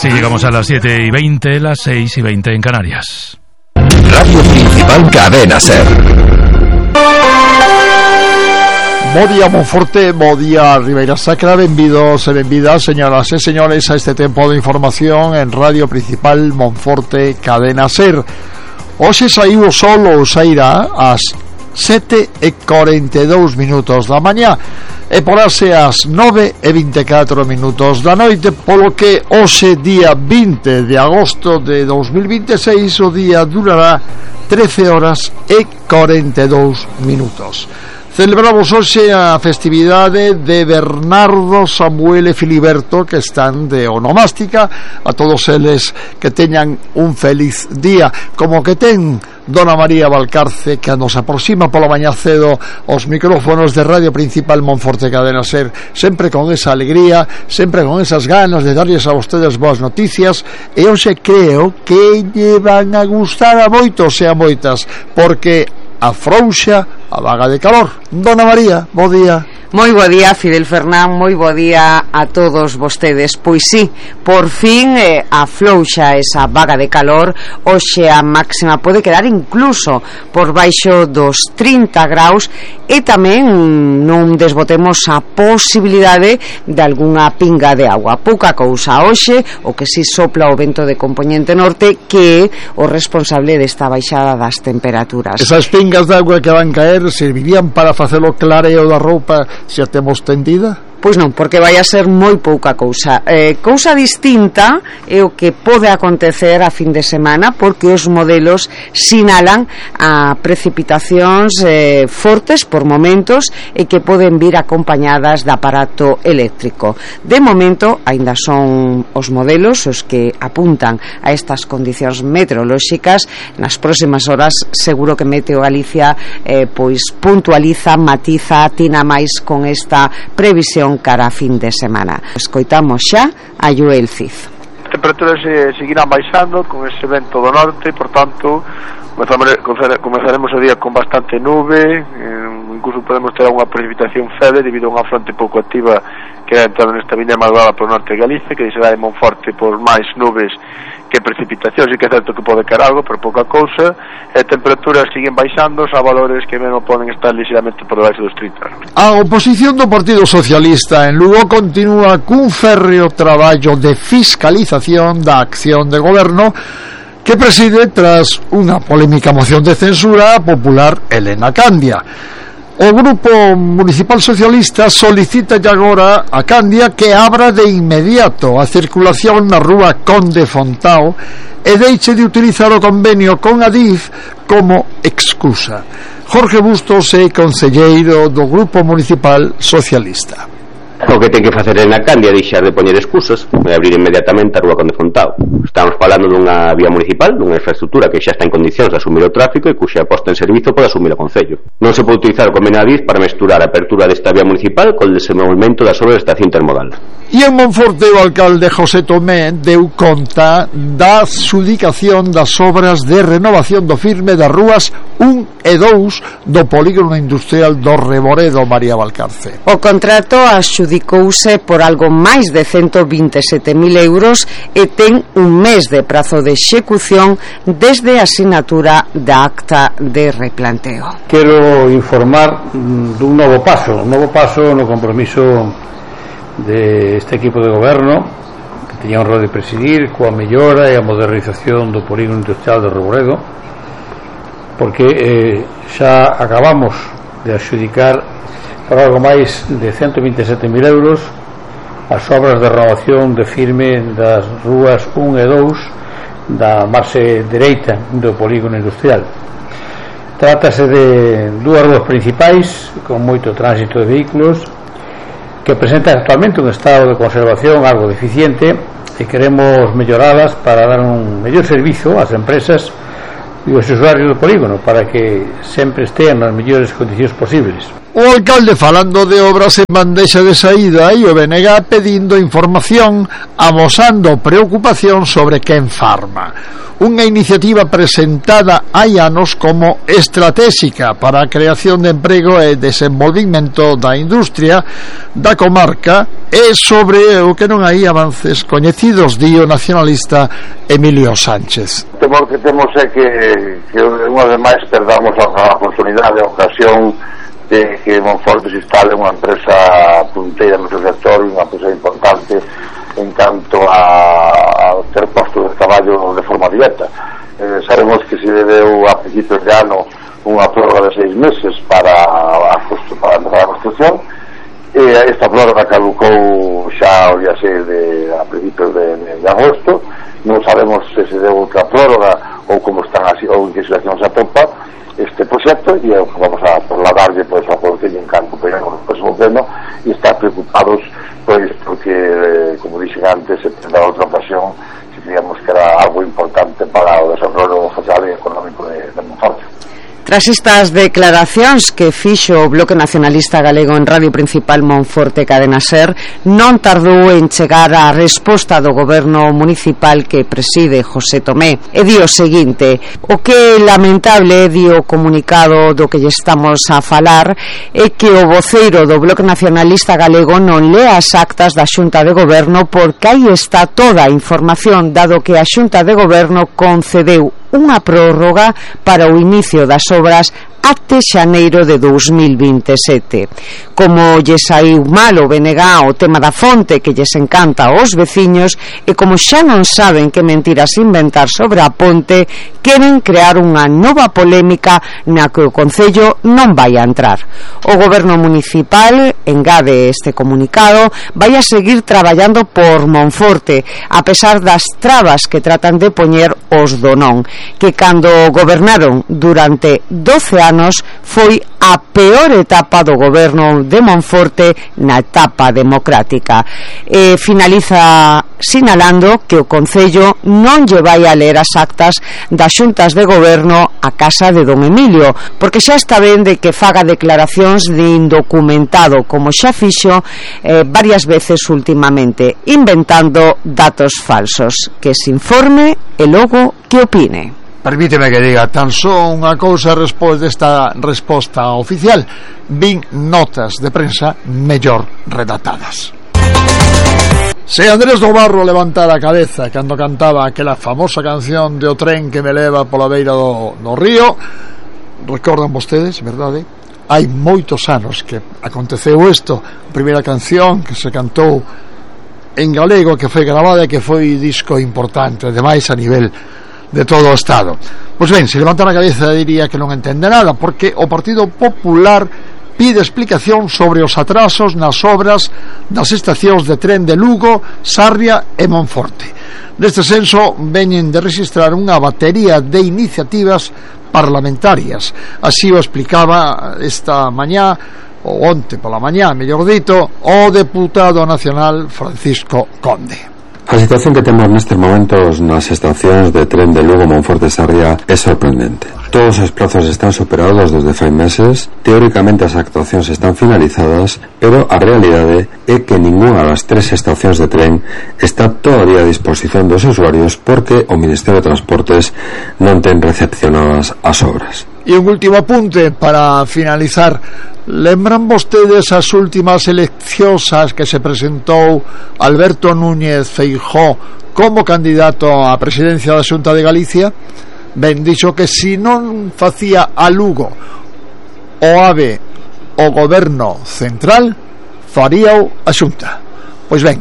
Así llegamos a las 7:20, las 6:20 en Canarias. Radio Principal Cadena SER. Bo día Monforte, bo día Ribeira Sacra, benvidos e benvidas, señoras e señores, a este tempo de información en Radio Principal Monforte Cadena SER. Hoxe saiu o sol ou sairá ás 7:42 da mañá e porase ás 9:24 da noite, polo que hoxe, día 20 de agosto de 2026, o día durará 13 horas e 42 minutos. Celebramos hoxe a festividade de Bernardo, Samuel e Filiberto, que están de onomástica. A todos eles que teñan un feliz día, como que ten Dona María Valcarce, que nos aproxima pola mañá cedo aos micrófonos de Radio Principal Monforte Cadena SER, sempre con esa alegría, sempre con esas ganas de darlles a vostedes boas noticias, e hoxe creo que lle van a gustar a moitos e a moitas, porque afrouxa a vaga de calor. Dona María, bo día. Moi bo día, Fidel Fernán, moi bo día a todos vostedes. Pois sí, por fin aflouxa esa vaga de calor. Hoxe a máxima pode quedar incluso por baixo dos 30 graus e tamén non desbotemos a posibilidade de algunha pinga de agua. Pouca cousa hoxe, o que si sopla o vento de compoñente norte, que é o responsable desta baixada das temperaturas. Esas pingas de agua que van caer servirían para facer o clareo da roupa se a temos tendida? Pois non, porque vai a ser moi pouca cousa. Cousa distinta é o que pode acontecer a fin de semana, porque os modelos sinalan a precipitacións fortes por momentos e que poden vir acompañadas de aparato eléctrico. De momento, aínda son os modelos os que apuntan a estas condicións meteorolóxicas. Nas próximas horas seguro que Meteo Galicia pois puntualiza, matiza, atina máis con esta previsión cara a fin de semana. Escoitamos xa a Joel Cid. As temperaturas seguirán baixando con ese vento do norte, por tanto comezaremos o día con bastante nube, incluso podemos ter unha precipitación feble debido a unha fronte pouco activa que vai entrar nesta viña malvada por norte de Galicia, que será de Monforte por máis nubes que precipitacións, e que é certo que pode caer algo, pero pouca cousa, e as temperaturas siguen baixando a valores que mesmo poden estar ligeiramente por debaixo dos 30. A oposición do Partido Socialista en Lugo continúa cun férreo traballo de fiscalización da acción de goberno que preside tras unha polémica moción de censura a popular Elena Candia. O Grupo Municipal Socialista solicita agora a Candia que abra de inmediato a circulación na rúa Conde Fontao e deixe de utilizar o convenio con Adif como excusa. Jorge Bustos é conselleiro do Grupo Municipal Socialista. O que ten que facer en a Candia é deixar de poñer excusas e abrir inmediatamente a rúa Conde Fontao. Estamos falando dunha vía municipal, dunha infraestructura que xa está en condicións de asumir o tráfico e cuxa posta en servizo pode asumir o Concello. Non se pode utilizar o convenio Adif para mesturar a apertura desta vía municipal con o desenvolvemento das obras da estación intermodal. E en Monforte o alcalde José Tomé deu conta da adxudicación das obras de renovación do firme das rúas 1 e 2 do polígono industrial do Reboredo. María Valcarce. O contrato adxudicouse por algo máis de 127.000 euros e ten un mes de prazo de execución desde a asinatura da acta de replanteo. Quero informar dun novo paso no compromiso deste equipo de goberno que teña a honra de presidir, coa mellora e a modernización do polígono industrial de Reboredo, porque xa acabamos de adxudicar por algo máis de 127.000 euros as obras de renovación de firme das rúas 1 e 2 da marxe dereita do polígono industrial. Trátase de dúas rúas principais con moito tránsito de vehículos que presentan actualmente un estado de conservación algo deficiente e queremos melloralas para dar un mellor servizo ás empresas e os usuarios do polígono para que sempre estean nas mellores condicións posibles. O alcalde falando de obras en bandexa de saída e o BNG pedindo información, amosando preocupación sobre Quen Pharma, unha iniciativa presentada hai anos como estratégica para a creación de emprego e desenvolvimento da industria da comarca e sobre o que non hai avances coñecidos, di o nacionalista Emilio Sánchez. O temor que temos é que unha vez máis perdamos a oportunidade, a ocasión de que Monforte se instale unha empresa punteira no seu sector, unha empresa importante en canto a ter postos de traballo de forma directa. Sabemos que se debeu a principios de ano unha prórroga de 6 meses para empezar a construcción, e esta prórroga caducou xa o día 6 a principios de agosto. Non sabemos se se deu outra prórroga ou como están así, ou en que situación se atopa este proxecto, e vamos a trasladarlle pois a Concello en canto pegamos no próximo pleno, e estar preocupados pois porque, como dixen antes, se tendrá outra ocasión se creíamos que era algo importante para o desarrollo social e económico de Monforte. Tras estas declaracións que fixo o Bloque Nacionalista Galego en Radio Principal Monforte Cadena Ser, non tardou en chegar a resposta do goberno municipal que preside José Tomé, e di o seguinte: o que é lamentable, di o comunicado do que lle estamos a falar, é que o voceiro do Bloque Nacionalista Galego non lea as actas da Xunta de Goberno, porque aí está toda a información, dado que a Xunta de Goberno concedeu unha prórroga para o inicio das obras até xaneiro de 2027. Como lle saiu mal o BNG o tema da fonte que lles encanta aos veciños, e como xa non saben que mentiras inventar sobre a ponte, queren crear unha nova polémica na que o Concello non vai a entrar. O goberno municipal, engade este comunicado, vai a seguir traballando por Monforte, a pesar das trabas que tratan de poñer os do non, que cando gobernaron durante 12 anos foi a peor etapa do goberno de Monforte na etapa democrática. Finaliza sinalando que o Concello non lle vai a ler as actas das xuntas de goberno a casa de don Emilio, porque xa está ben de que faga declaracións de indocumentado, como xa fixo varias veces últimamente, inventando datos falsos. Que se informe e logo que opine. Permíteme que diga tan só unha cousa despois desta resposta oficial: vin notas de prensa mellor redactadas. Se Andrés do Barro levantara a cabeza cando cantaba aquela famosa canción de O tren que me leva pola beira do río, recordan vostedes, verdade? Hai moitos anos que aconteceu isto. A primeira canción que se cantou en galego, que foi gravada e que foi disco importante, ademais a nivel de todo o Estado. Pois ben, se levantara a cabeza diría que non entende nada, porque o Partido Popular pide explicación sobre os atrasos nas obras das estacións de tren de Lugo, Sarria e Monforte. Neste senso, veñen de registrar unha batería de iniciativas parlamentarias. Así o explicaba esta mañá, ou onte pola mañá, mellor dito, o deputado nacional Francisco Conde. A situación que temos nestes momentos nas estacións de tren de Lugo, Monforte e Sarria é sorprendente. Todos os prazos están superados desde fai meses, teóricamente as actuacións están finalizadas, pero a realidade é que ninguna das 3 estacións de tren está todavía a disposición dos usuarios porque o Ministerio de Transportes non ten recepcionadas as obras. E un último apunte para finalizar. Lembran vostedes as últimas eleccións ás que se presentou Alberto Núñez Feijóo como candidato á presidencia da Xunta de Galicia? Ben, dixo que se non facía a Lugo o AVE o goberno central, faríao a Xunta. Pois ben,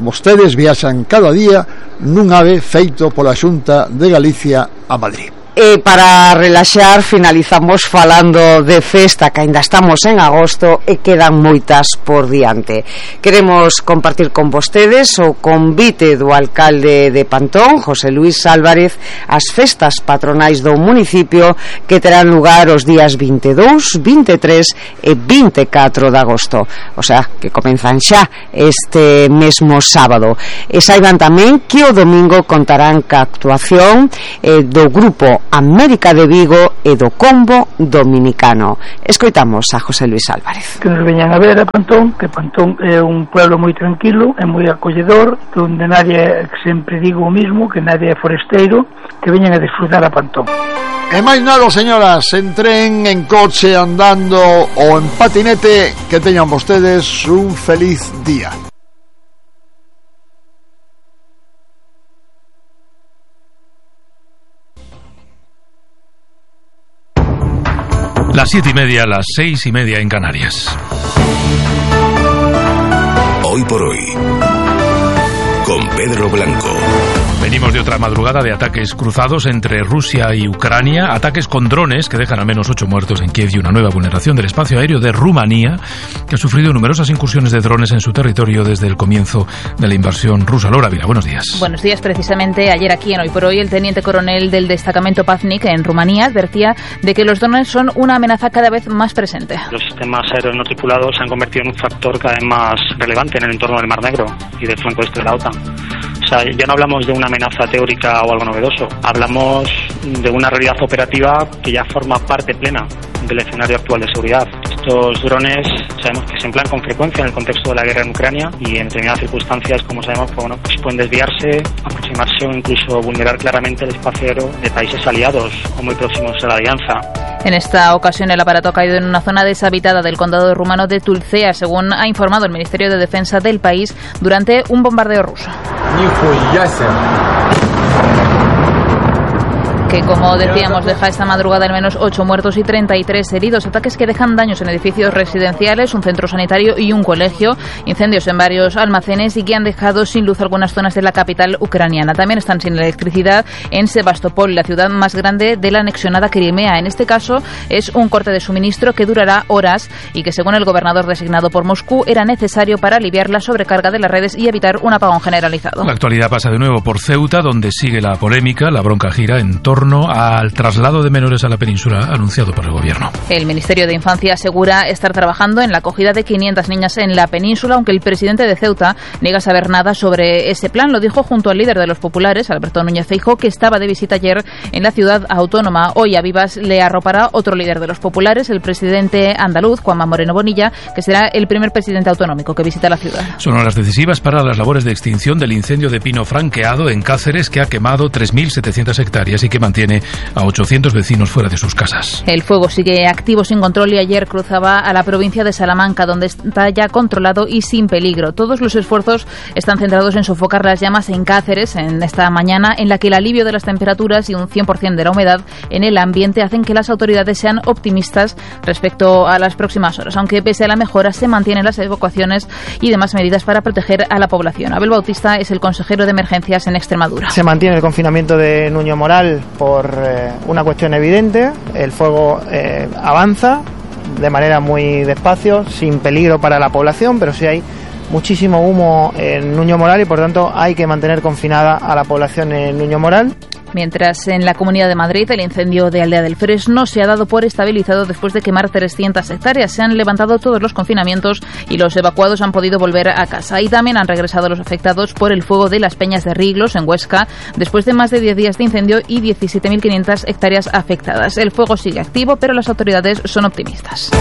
vostedes viaxan cada día nun AVE feito pola Xunta de Galicia a Madrid. E para relaxar finalizamos falando de festa, que ainda estamos en agosto e quedan moitas por diante. Queremos compartir con vostedes o convite do alcalde de Pantón, José Luis Álvarez, as festas patronais do municipio que terán lugar os días 22, 23 e 24 de agosto, o sea, que comenzan xa este mesmo sábado. E saiban tamén que o domingo contarán ca actuación do grupo América de Vigo e do Combo Dominicano. Escoitamos a José Luis Álvarez. Que nos veñan a ver a Pantón, que Pantón é un pueblo moi tranquilo, é moi acolledor, donde nadie, sempre digo o mismo, que nadie é foresteiro, que veñan a disfrutar a Pantón. E máis nada, señoras, en tren, en coche, andando ou en patinete, que teñan vostedes un feliz día. Las 7:30, las 6:30 en Canarias. Hoy por hoy, con Pedro Blanco. Venimos de otra madrugada de ataques cruzados entre Rusia y Ucrania, ataques con drones que dejan al menos 8 muertos en Kiev y una nueva vulneración del espacio aéreo de Rumanía, que ha sufrido numerosas incursiones de drones en su territorio desde el comienzo de la invasión rusa. Laura Vila, buenos días. Buenos días. Precisamente ayer aquí en Hoy por Hoy, el teniente coronel del destacamento Paznik en Rumanía advertía de que los drones son una amenaza cada vez más presente. Los sistemas aéreos no tripulados se han convertido en un factor cada vez más relevante en el entorno del Mar Negro y del flanco este de la OTAN. O sea, ya no hablamos de una amenaza teórica o algo novedoso, hablamos de una realidad operativa que ya forma parte plena del escenario actual de seguridad. Estos drones sabemos que se emplean con frecuencia en el contexto de la guerra en Ucrania y en determinadas circunstancias, como sabemos, pues pueden desviarse, aproximarse o incluso vulnerar claramente el espacio aéreo de países aliados o muy próximos a la alianza. En esta ocasión el aparato ha caído en una zona deshabitada del condado rumano de Tulcea, según ha informado el Ministerio de Defensa del país, durante un bombardeo ruso. Que, como decíamos, deja esta madrugada al menos 8 muertos y 33 heridos. Ataques que dejan daños en edificios residenciales, un centro sanitario y un colegio, incendios en varios almacenes y que han dejado sin luz algunas zonas de la capital ucraniana. También están sin electricidad en Sebastopol, la ciudad más grande de la anexionada Crimea. En este caso es un corte de suministro que durará horas y que, según el gobernador designado por Moscú, era necesario para aliviar la sobrecarga de las redes y evitar un apagón generalizado. La actualidad pasa de nuevo por Ceuta, donde sigue la polémica. La bronca gira en torno al traslado de menores a la península anunciado por el gobierno. El Ministerio de Infancia asegura estar trabajando en la acogida de 500 niñas en la península, aunque el presidente de Ceuta niega saber nada sobre ese plan. Lo dijo junto al líder de los populares, Alberto Núñez Feijóo, que estaba de visita ayer en la ciudad autónoma. Hoy a Vivas le arropará otro líder de los populares, el presidente andaluz, Juanma Moreno Bonilla, que será el primer presidente autonómico que visita la ciudad. Son horas decisivas para las labores de extinción del incendio de pino franqueado en Cáceres, que ha quemado 3.700 hectáreas y que mantiene a 800 vecinos fuera de sus casas. El fuego sigue activo sin control y ayer cruzaba a la provincia de Salamanca, donde está ya controlado y sin peligro. Todos los esfuerzos están centrados en sofocar las llamas en Cáceres en esta mañana, en la que el alivio de las temperaturas y un 100% de la humedad en el ambiente hacen que las autoridades sean optimistas respecto a las próximas horas, aunque pese a la mejora se mantienen las evacuaciones y demás medidas para proteger a la población. Abel Bautista es el consejero de emergencias en Extremadura. Se mantiene el confinamiento de Nuño Moral por una cuestión evidente. El fuego avanza de manera muy despacio, sin peligro para la población, pero sí hay muchísimo humo en Nuño Moral y por tanto hay que mantener confinada a la población en Nuño Moral. Mientras en la Comunidad de Madrid el incendio de Aldea del Fresno se ha dado por estabilizado después de quemar 300 hectáreas. Se han levantado todos los confinamientos y los evacuados han podido volver a casa. Y también han regresado los afectados por el fuego de las Peñas de Riglos en Huesca, después de más de 10 días de incendio y 17.500 hectáreas afectadas. El fuego sigue activo, pero las autoridades son optimistas.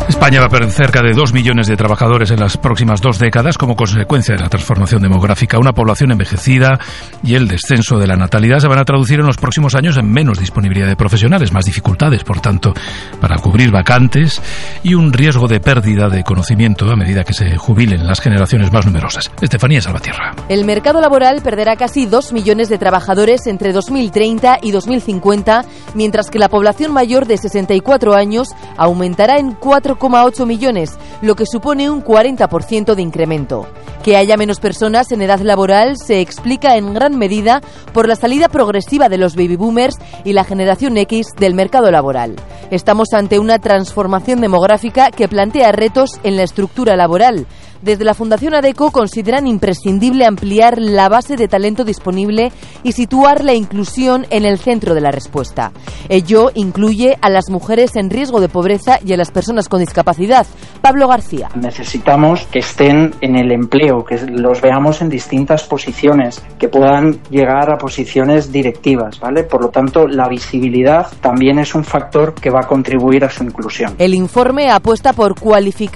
España va a perder cerca de 2 millones de trabajadores en las próximas 2 décadas como consecuencia de la transformación demográfica. Una población envejecida y el descenso de la natalidad se van a traducir en los próximos años en menos disponibilidad de profesionales, más dificultades, por tanto, para cubrir vacantes y un riesgo de pérdida de conocimiento a medida que se jubilen las generaciones más numerosas. Estefanía Salvatierra. El mercado laboral perderá casi 2 millones de trabajadores entre 2030 y 2050, mientras que la población mayor de 64 años aumentará en 4,8 millones, lo que supone un 40% de incremento. Que haya menos personas en edad laboral se explica en gran medida por la salida progresiva de los baby boomers y la generación X del mercado laboral. Estamos ante una transformación demográfica que plantea retos en la estructura laboral. Desde la Fundación ADECO consideran imprescindible ampliar la base de talento disponible y situar la inclusión en el centro de la respuesta. Ello incluye a las mujeres en riesgo de pobreza y a las personas con discapacidad. Pablo García. Necesitamos que estén en el empleo, que los veamos en distintas posiciones, que puedan llegar a posiciones directivas, ¿vale? Por lo tanto, la visibilidad también es un factor que va a contribuir a su inclusión. El informe apuesta por cualificar